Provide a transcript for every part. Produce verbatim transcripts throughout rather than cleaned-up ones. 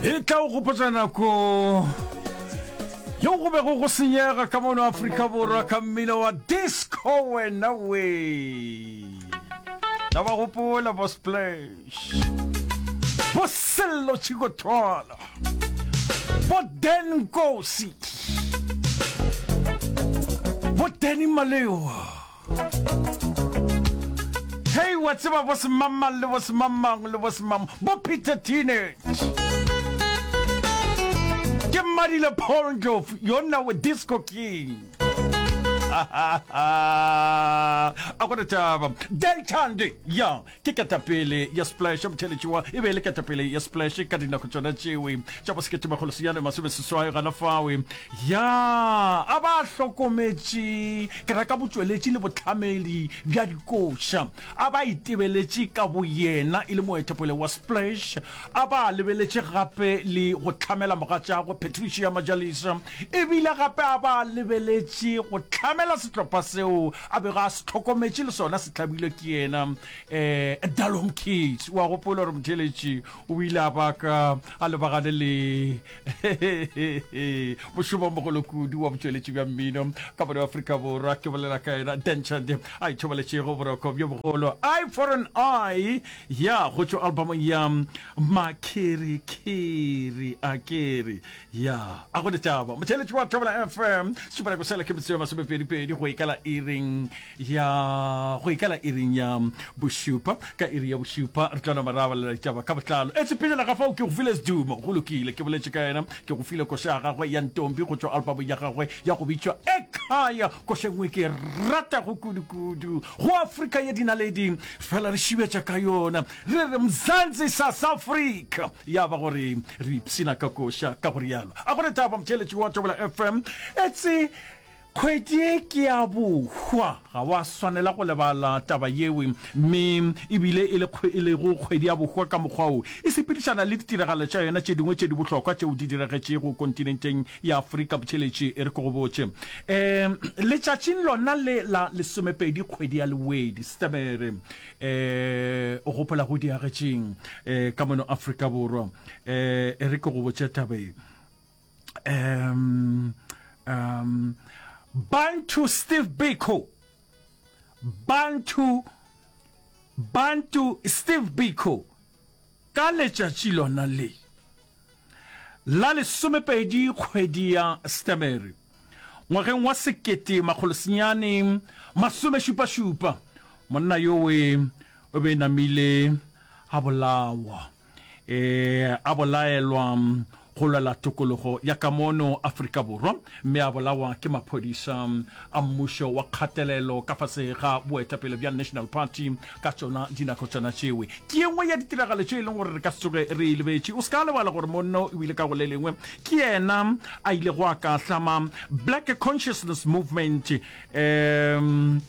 E tla o gopotša nako yeo go bego go senyega ka mono Afrika Borwa ka mmino wa disco wena we. Na ba gopola bo Splash, bo Sello Chikothwala, bo Dan Nkosi, bo Danny Malewa. Hei, wa tseba bo semangmang le bo semangmang le bo semang, bo Peter Teenage. Ke mmadile Paul Ndlovu, yona we Disco King. A go na taba. Del Chandi, ya, ke ketapele ya Splash, motheeletši wa, e be e le ketapele ya Splash ka dinako tšona tšewe tša bo sekete makgolo senyane masome seswai gana fawe. Ya, a ba hlokometše, ke ra ka botšweletši le bohlamedi bja dikoša. A ba itebeletše ka boyena e le moetapele wa Splash, a ba lebeletše gape le go hlamela mogatšagwe Patricia Majalisa, e bile gape a ba lebeletše go hlamela sehlopha seo a bego a se hlokometše le sona se hlabilwe ke yena, eh, Dalom Kids. O a gopola gore motheeletši o ile a baka a lebagane le mošomo o mogolo kudu wa botšweletši bja mmino ka mono Afrika Borwa. Ke bolela ka yena Dan Chande a ithobaletšego boroko bjo bogolo. Eye for an Eye ya go tšwa albumong ya Makhirikhiri a kere ya a go ditaba. Motheeletši wa Thobela F M, šupanako sela ke metsotso ya masomepedi-pedi go ikala iring ya go ikala iring ya bošupa. Ka iri ya bošupa re tlo nama ra balela ditaba ka botlalo. Etse pejana ga fao ke go file Sdumo, go lokile, ke boletše ka yena, ke go file koša ya gagwe ya Ntombi go tšwa albumong ya gagwe ya go bitšwa Ekhaya, koša e nngwe ke e ratago kudu-kudu go Afrika ya dinaledi, fela re šibetša ka yona re re Mzansi South Africa, ya ba gore re ipshina ka koša ka go rialo. A go re taba motheeletši wa Thobela F M, etse Kgwedi ye ke ya bohwa, ga wa swanela go lebala taba yeo, mme e bile e le e lego kgwedi ya bohwa ka mokgwa wo e sepedišana le ditiragalo tša yona tše dingwe tše di bohlokwa tšeo di diragetšego kontinenteng ya Afrika. Botšheletše, e re ke go botše, um letšatšing lona le la lesomepedi kgwedi ya Lewedi, Setemere, um o gopola go diagetšeng um ka mono Afrika Borwa? Um e re ke go botše taba ye. Um, um, Bantu Steve Biko, Bantu, Bantu Steve Biko, ka letšatši lona le la lesomepedi kgwedi ya Setemere ngwageng wa sekete makgolo senyane masomešupašupa, monna yowe o be namile a bolawa. E, a bolaelwa go lwela tokologo ya ka mono Afrika Borwa mme a bolawa ke maphodisa a mmušo wa kgatelelo ka fase ga boetapele bja National Party ka tšona dinako tšona tšewe. Ke ye nngwe ya ditiragalo tše e leng gore re ka se tsoge re e lebetše. O se ka lebala gore monno o ile ka go le lengwe ke yena a ilego a ka hlama Black Consciousness Movement um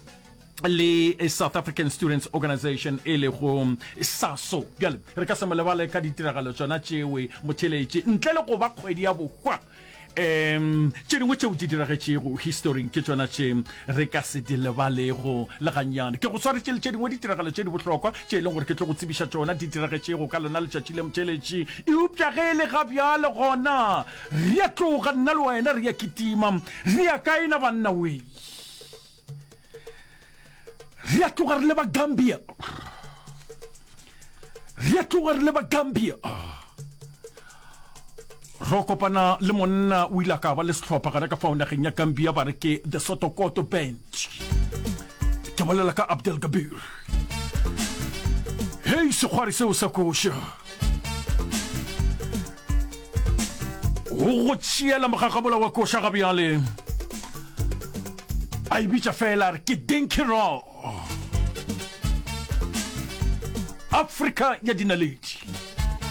le South African Students Organisation e lego SASO. Bjale re ka se mo lebale ka ditiragalo tšona tšewe motheeletši ntle le go ba kgwedi ya bohwa. Um tše dingwe tšeo di diragetšego historing ke tšona tše re ka se di lebalego le gannyane. Ke go swaretše le tše dingwe ditiragalo tše di bohlokwa tše e leng gore ke tlo go tsebiša tšona di diragetšego ka lona letšatši le motheeletši. Eupša ge e le ga bjale gona re a tloga nna le wena re a kitima re ya kae na banna wee? Re a tloga re leba Gambia. Re a tloga re leba Gambia. Ro kopana le monna o ile a ka ba le sehlopha gana ka fao nageng ya Gambia ba re ke The Sotokoto Band. Ke bolela ka Abdel Kabir. Hei sekgwari seo sa koša. Go go tšeela mogagabola wa koša ga bjale. A e bitša fela a re ke Dinky Raw. Afrika ya dinaledi.